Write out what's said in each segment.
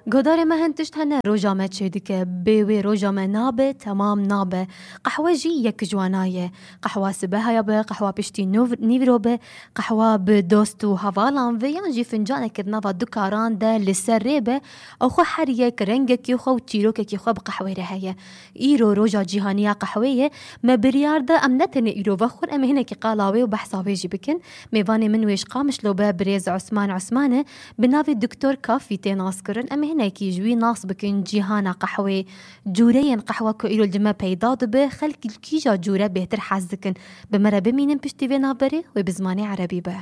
گۆدارێ me hin tişt hene roja me çê dike bê wê roja me nabe temam nabe. Qehwe jî yek jwana ye. Qehwa sibeha be, qehwa piştî nîvro be, qehwa bi dost û hevalan ve yan jî fincanekî di nava du karan de li ser rê be ew xwe her yek rengekî xwe û çîrokekî xwe bi qehwê re heye. Îro roja cîhaniya qehwê ye me biryar da em ne tenê îro vexwin em ê hinekî qala wê û behsa wê jî bikin. Mêvanê min wêj qamişlo be birêz Osman Osman bi navê Doktor Kafî tê nas kirin em ê hinekî ji wî nas bikin cîhana qehwê. Cûreyên qehwa ku îro li me peyda dibe xelkî kîja cûre bêhtir hez dikin. Bi me re bimînin piştî vê navberê wê bi zimanê erebî be.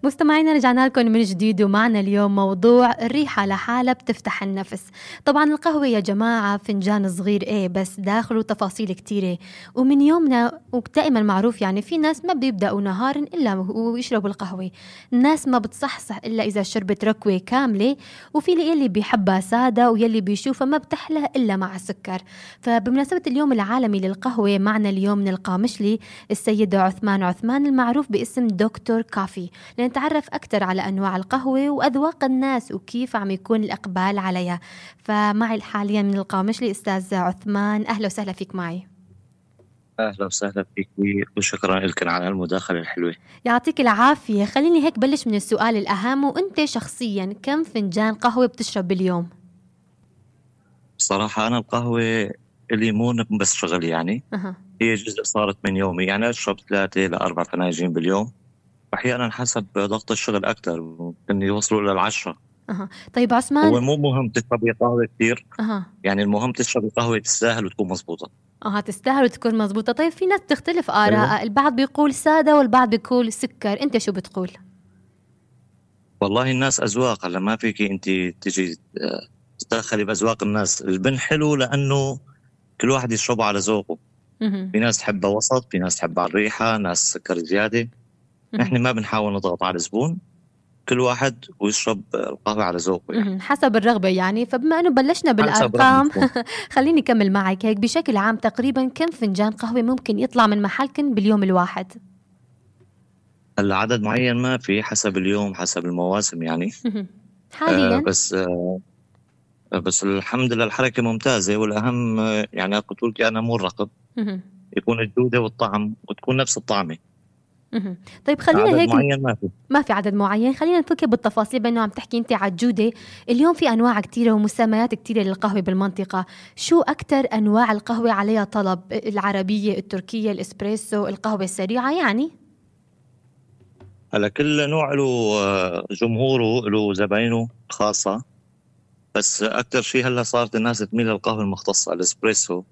مستمعينا رجعنا لكم من جديد ومعنا اليوم موضوع الريحة لحالة بتفتح النفس. طبعا القهوة يا جماعة فنجان صغير بس داخله تفاصيل كتيرة ومن يومنا ودائما معروف يعني في ناس ما بيبدأوا نهارا إلا ويشربوا القهوة. الناس ما بتصحصح إلا إذا شربت ركوة كاملة وفي اللي بيحبها سادة ويلي بيشوفها ما بتحلى إلا مع السكر. فبمناسبة اليوم العالمي للقهوة معنا اليوم من القامشلي السيد عثمان المعروف باسم دكتور كافي نتعرف أكثر على أنواع القهوة وأذواق الناس وكيف عم يكون الإقبال عليها. فمعي حاليا من القامشلي أستاذ عثمان، أهلا وسهلا فيك معي. أهلا وسهلا فيك وشكرا لك على المداخلة الحلوة. يعطيك العافية. خليني هيك بلش من السؤال الأهم، وأنت شخصيا كم فنجان قهوة بتشرب باليوم؟ صراحة أنا القهوة اللي مو بس شغل يعني هي جزء صارت من يومي، يعني أشرب 3 إلى 4 فناجين باليوم، أحيانا حسب ضغط الشغل أكتر ممكن يوصلوا لل10. طيب عثمان، هو مو مهم تشربي قهوة كتير، يعني المهم تشربي قهوة تستاهل وتكون مزبوطة. تستاهل وتكون مزبوطة. طيب في ناس تختلف آراء، البعض بيقول سادة والبعض بيقول سكر، أنت شو بتقول؟ والله الناس أذواق، هلا ما فيك أنت تجي تدخلي بأذواق الناس. البن حلو لأنه كل واحد يشربه على ذوقه. في ناس تحبها وسط، في ناس تحبها الريحة، ناس سكر زيادة. نحن ما بنحاول نضغط على الزبون، كل واحد ويشرب القهوة على ذوقه يعني. حسب الرغبة يعني. فبما أنه بلشنا بالأرقام خليني كمل معك هيك بشكل عام. تقريبا كم فنجان قهوة ممكن يطلع من محلكن باليوم الواحد؟ هلا عدد معين ما في، حسب اليوم حسب المواسم يعني. حاليا بس الحمد لله الحركة ممتازة، والأهم يعني قلت لك أنا مو الرقم، يكون الجودة والطعم وتكون نفس الطعمة. طيب خلينا عدد هيك معين ما في عدد معين. خلينا نفكر بالتفاصيل، بأنه عم تحكي أنت على الجودة. اليوم في أنواع كتيرة ومسميات كتيرة للقهوة بالمنطقة. شو أكتر أنواع القهوة عليها طلب؟ العربية، التركية، الإسبريسو، القهوة السريعة يعني؟ هلا كل نوع له جمهوره، له زباينه خاصة، بس أكتر شيء هلا صارت الناس تميل للقهوة المختصة الإسبريسو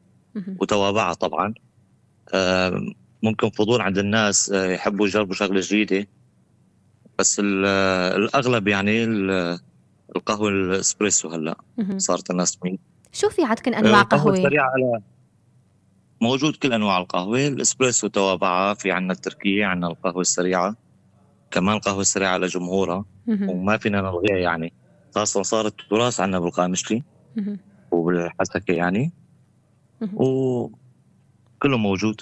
وتوابعها طبعا. ممكن فضول عند الناس يحبوا يجربوا شغلة جديدة، بس الأغلب يعني القهوة الإسبريسو هلا صارت الناس تميل. شو في عندكم أنواع قهوة؟ السريعة موجود كل أنواع القهوة، الإسبريسو توابعها، في عنا التركية، عنا القهوة السريعة، كمان القهوة السريعة على جمهورها وما فينا نلغيها يعني. خاصة صارت تراث عنا بالقامشلي وبالحسكة يعني، وكله موجود.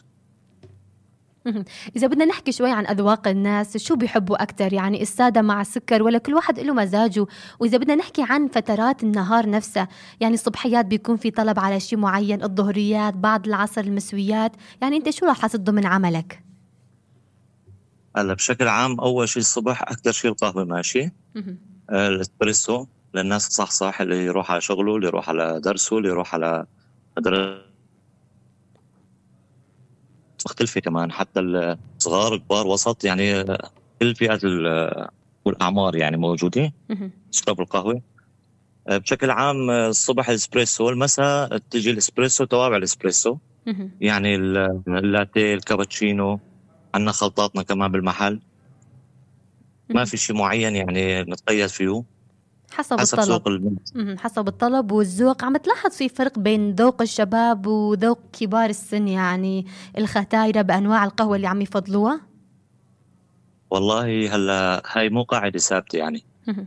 إذا بدنا نحكي شوي عن أذواق الناس، شو بيحبوا أكتر يعني؟ السادة مع السكر ولا كل واحد له مزاجه؟ وإذا بدنا نحكي عن فترات النهار نفسها، يعني الصبحيات بيكون في طلب على شيء معين، الظهريات، بعد العصر المسويات، يعني أنت شو راح تصده من عملك؟ هلا بشكل عام أول شيء الصبح أكتر شيء القهوة ماشي. الإسبريسو للناس صح اللي يروح على شغله، اللي يروح على درسه، اللي يروح على مختلفة كمان، حتى الصغار كبار وسط يعني كل فئات والأعمار يعني موجودة تشرب القهوة. بشكل عام الصبح الإسبريسو، والمساء تجي الإسبريسو توابع الإسبريسو يعني اللاتيه، الكابتشينو، عنا خلطاتنا كمان بالمحل. ما في شيء معين يعني نتقيد فيه، حسب الطلب. حسب الطلب والذوق. عم تلاحظ في فرق بين ذوق الشباب وذوق كبار السن، يعني الختايرة بأنواع القهوة اللي عم يفضلوها؟ والله هلا هاي مو قاعدة ثابتة يعني،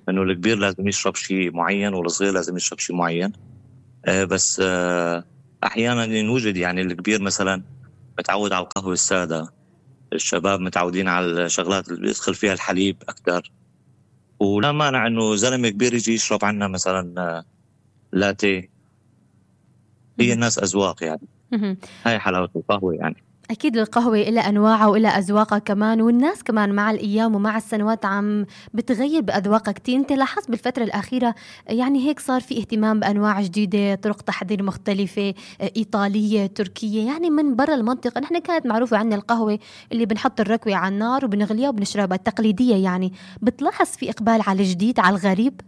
انه الكبير لازم يشرب شيء معين والصغير لازم يشرب شيء معين. بس أحيانا ينوجد يعني الكبير مثلا متعود على القهوة السادة، الشباب متعودين على الشغلات اللي بيدخل فيها الحليب أكثر. ولا مانع إنه زلمة كبير يجي يشرب عنا مثلا لاتيه. هي الناس أذواق يعني. هاي حلاوة القهوة يعني. أكيد القهوة إلها أنواعها وإلها أذواقها كمان، والناس كمان مع الأيام ومع السنوات عم بتغير بأذواقها كتير. أنت لاحظت بالفترة الأخيرة يعني هيك صار في اهتمام بأنواع جديدة، طرق تحضير مختلفة، إيطالية، تركية، يعني من برا المنطقة. نحن كانت معروفة عنا القهوة اللي بنحط الركوة على النار وبنغليها وبنشربها التقليدية. يعني بتلاحظ في إقبال على الجديد، على الغريب؟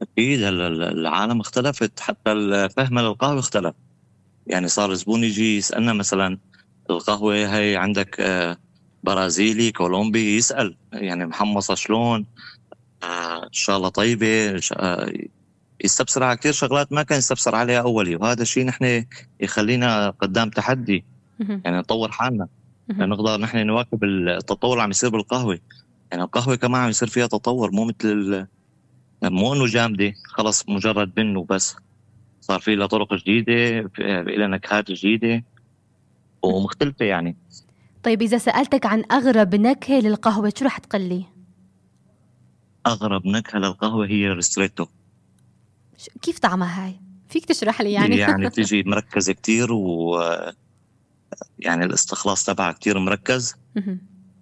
أكيد العالم اختلفت، حتى الفهم للقهوة اختلف. يعني صار زبون يجي يسألنا مثلا القهوة هاي عندك برازيلي كولومبي، يسأل يعني محمصة شلون، إن شاء الله طيبة، يستفسر على كتير شغلات ما كان يستفسر عليها أولي. وهذا الشيء نحن يخلينا قدام تحدي، يعني نطور حالنا نقدر نحن نواكب التطور اللي عم يصير بالقهوة. يعني القهوة كمان عم يصير فيها تطور، مو مثل مو إنه جامدة خلص مجرد بن وبس. صار في لها طرق جديدة، في لها نكهات جديدة ومختلفة يعني. طيب إذا سألتك عن أغرب نكهة للقهوة شو رح تقلي؟ أغرب نكهة للقهوة هي ريستريتو. كيف طعمها هاي؟ فيك تشرح لي يعني؟ يعني بتيجي مركزة كتير، و يعني الاستخلاص تبعها كتير مركز.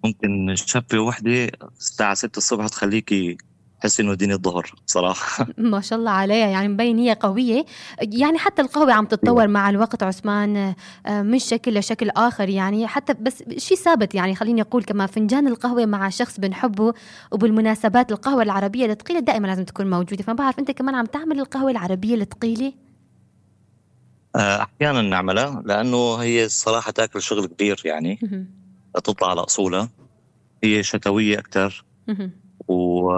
ممكن شفة وحدة الساعة 6 الصبح تخليكي تحسي إنه دين الظهر صراحة. ما شاء الله عليها، يعني مبين هي قوية. يعني حتى القهوة عم تتطور مع الوقت عثمان، من شكل لشكل آخر يعني. حتى بس شيء ثابت يعني، خليني أقول كمان فنجان القهوة مع شخص بنحبه، وبالمناسبات القهوة العربية الثقيلة دائما لازم تكون موجودة. فما بعرف أنت كمان عم تعمل القهوة العربية الثقيلة؟ أحيانا نعملها لأنه هي الصراحة تاكل شغل كبير يعني، تطلع على أصولها. هي شتوية أكتر، و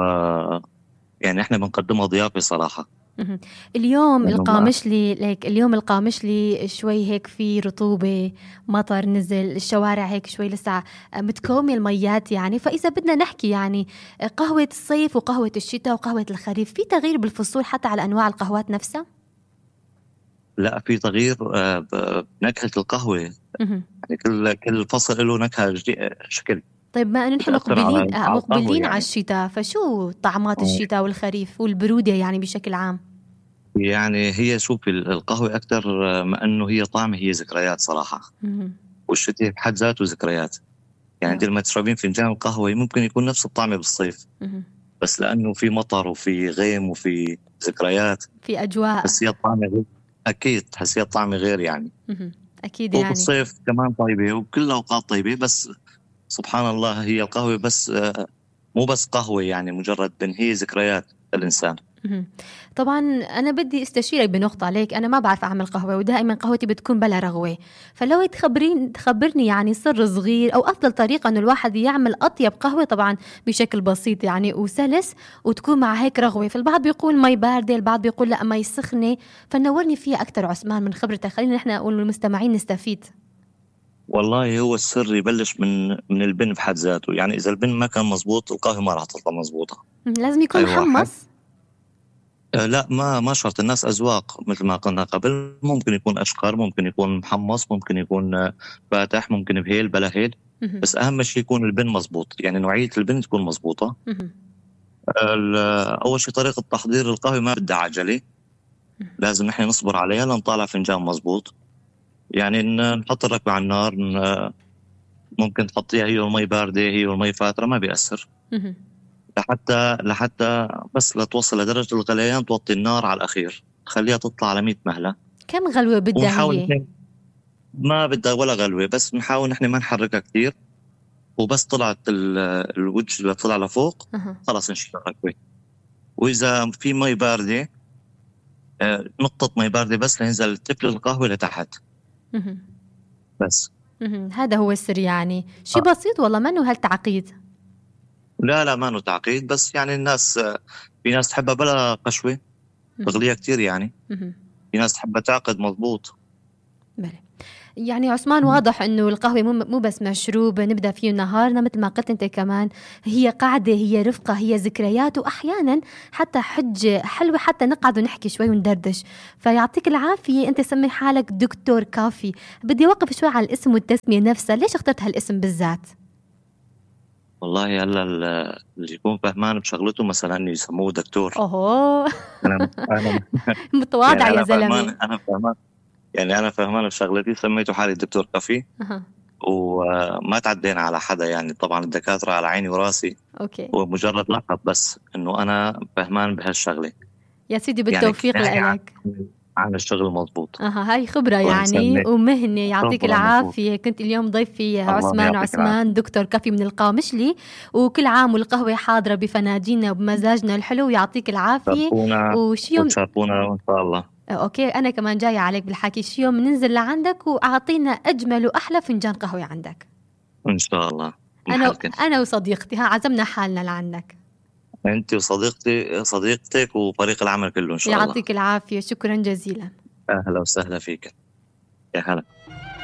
يعني إحنا بنقدمها ضيافة صراحة. اليوم القامشلي ليك، اليوم القامشلي شوي هيك في رطوبة، مطر نزل، الشوارع هيك شوي لسه متكومة الميات يعني. فإذا بدنا نحكي يعني قهوة الصيف وقهوة الشتاء وقهوة الخريف، في تغيير بالفصول حتى على أنواع القهوات نفسها؟ لا، في تغيير بنكهة القهوة. يعني كل فصل له نكهة شكل. طيب ما أنه نحن مقبلين على الشتاء، فشو طعمات الشتاء والخريف والبرودة يعني بشكل عام؟ يعني هي شوف القهوة أكتر ما أنه هي طعمة، هي ذكريات صراحة. والشتاء بحد ذاته ذكريات. يعني انت لما تشربين فنجان القهوة ممكن يكون نفس الطعم بالصيف، بس لأنه في مطر وفي غيم وفي ذكريات، في أجواء، تحسيها الطعم غير. أكيد تحسيها الطعم غير يعني. أكيد يعني. وبالصيف كمان طيبة، وكل الأوقات طيبة. بس سبحان الله هي القهوة بس مو بس قهوة يعني مجرد هي ذكريات الإنسان. طبعا أنا بدي استشيرك بنقطة عليك. أنا ما بعرف أعمل قهوة، ودائما قهوتي بتكون بلا رغوة. فلو تخبرني يعني سر صغير أو أفضل طريقة أنه الواحد يعمل أطيب قهوة، طبعا بشكل بسيط يعني وسلس، وتكون مع هيك رغوة. فالبعض بيقول مي باردة، البعض بيقول لا مي سخنة. فنورني فيها أكتر عثمان من خبرتك، خلينا نحن والمستمعين نستفيد. والله هو السر يبلش من البن بحد ذاته. يعني إذا البن ما كان مزبوط القهوة ما راح تطلع مزبوطة. لازم يكون محمص؟ لا، ما شرط. الناس أذواق مثل ما قلنا قبل. ممكن يكون أشقر، ممكن يكون محمص، ممكن يكون فاتح، ممكن بهيل بلا هيل. بس أهم شيء يكون البن مزبوط، يعني نوعية البن تكون مزبوطة. أول شيء طريقة تحضير القهوة ما بدها عجلة، لازم نحن نصبر عليها لنطالع فنجان مزبوط. يعني نحط الركبة على النار، ممكن تحطيها هي والمي باردة، هي والمي فاترة، ما بيأثر. لحتى بس لتوصل لدرجة الغليان توطي النار على الأخير، خليها تطلع على 100 مهلة. كم غلوة بدها هي؟ ما بدها ولا غلوة، بس نحاول نحن ما نحركها كتير. وبس طلعت الوجه اللي طلع لفوق خلاص نشيل الركبة. وإذا في مي باردة نقطة مي باردة بس لينزل تفل القهوة لتحت بس. هذا هو السر يعني. شيء بسيط والله، ما إنه هالتعقيد. لا ما إنه تعقيد، بس يعني الناس في ناس تحبها بلا قشوة تغليها كتير يعني. في ناس تحبها تعقد مضبوط. بلى. يعني عثمان واضح انه القهوة مو بس مشروب نبدأ فيه نهارنا، مثل ما قلت انت كمان هي قاعدة، هي رفقة، هي ذكريات، واحيانا حتى حجة حلوة حتى نقعد ونحكي شوي وندردش. فيعطيك العافية، انت سمي حالك دكتور كافي. بدي اوقف شوي على الاسم والتسمية نفسها، ليش اخترت هالاسم بالذات؟ والله هلا اللي يكون فهمان بشغلته مثلا يسموه دكتور. اوه انا متواضع يعني يا انا فهمان زلمة. انا فهمان يعني انا فهمان بشغلتي، سميته حالي دكتور كافي. أها. وما تعدينا على حدا، يعني طبعا الدكاترة على عيني وراسي، اوكي هو مجرد لقب بس انه انا فهمان بهالشغله. يا سيدي، يعني بالتوفيق نحكي لك. عن الشغل مضبوط. هاي خبرة الله يعني يسلمك. ومهنة. يعطيك شكرا مضبوط. العافية. كنت اليوم ضيفي الله عثمان يعطيك العافيه. دكتور كافي من القامشلي، وكل عام والقهوة حاضرة بفناجيننا وبمزاجنا الحلو. يعطيك العافية. تشرفونا وشي يوم وتشرفونا وان شاء الله. اوكي، انا كمان جاية عليك بالحكي، شي يوم ننزل لعندك واعطينا اجمل واحلى فنجان قهوة عندك. ان شاء الله. انا محلكن. انا وصديقتي عزمنا حالنا لعندك. انت صديقتك وفريق العمل كله ان شاء الله. يعطيك العافية، شكرا جزيلا. اهلا وسهلا فيك. يا هلا.